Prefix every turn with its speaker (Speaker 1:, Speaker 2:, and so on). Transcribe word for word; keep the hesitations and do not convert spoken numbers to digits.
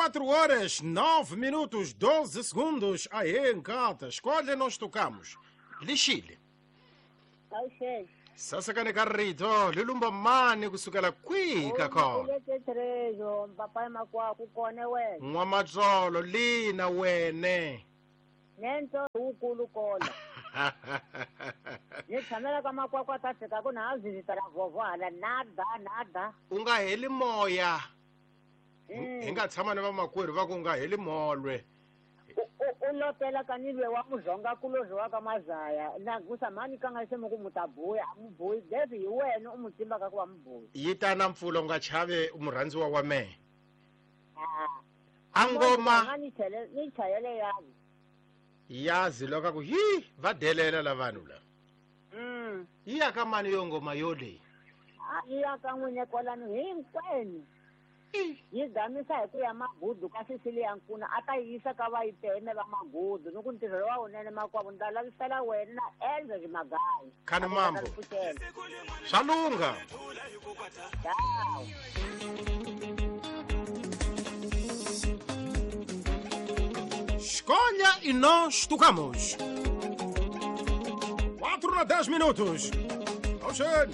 Speaker 1: quatro horas, nove minutos, doze segundos. Aê, Nkata, escolhe, nós tocamos. Lixile.
Speaker 2: Awuxele.
Speaker 1: Sasakane ka rito, lilumba mani kusukela kwihi ka khona.
Speaker 2: Trejo, papai makwaku kone wena.
Speaker 1: N'wamatsolo lina wene.
Speaker 2: Nento ukulu kola. Ni tshamela ka makwakwa ta fika ku na vizita ra vhovho hala nada nada.
Speaker 1: U nga heli moya. Hi nga tshama ni vamakwerhu va ku nga heli molwe.
Speaker 2: U lotela ka ni lwe wa muzonga kulozi wa ka mazaya na gusa mani ka nga se mu ku mutabuya a mubuyi devi hi wena u mu timbaka ku va mubuyi.
Speaker 1: Yi ta na mpfula u nga chave murhandziwa wa mehe. A ngoma
Speaker 2: ni chele ni chayele yazi.
Speaker 1: Yazi loko ku hi va delela la vanhu la.
Speaker 2: Mm.
Speaker 1: Yi ya ka mani yo ngoma yo leyi?
Speaker 2: A yi ya ka n'wine kwalano hinkwenu. Yi gamisa hi ku ya magudu ka Cecilia Nkuna a ta yisa ka va yiteme va magudu ni ku ntirho wa wunene makwavo ni ta lavisela wena na Elza Magayi.
Speaker 1: Khani mambo. Swa lungha. Escolha e nós tocamos. Quatro na dez minutos. Ao cheiro.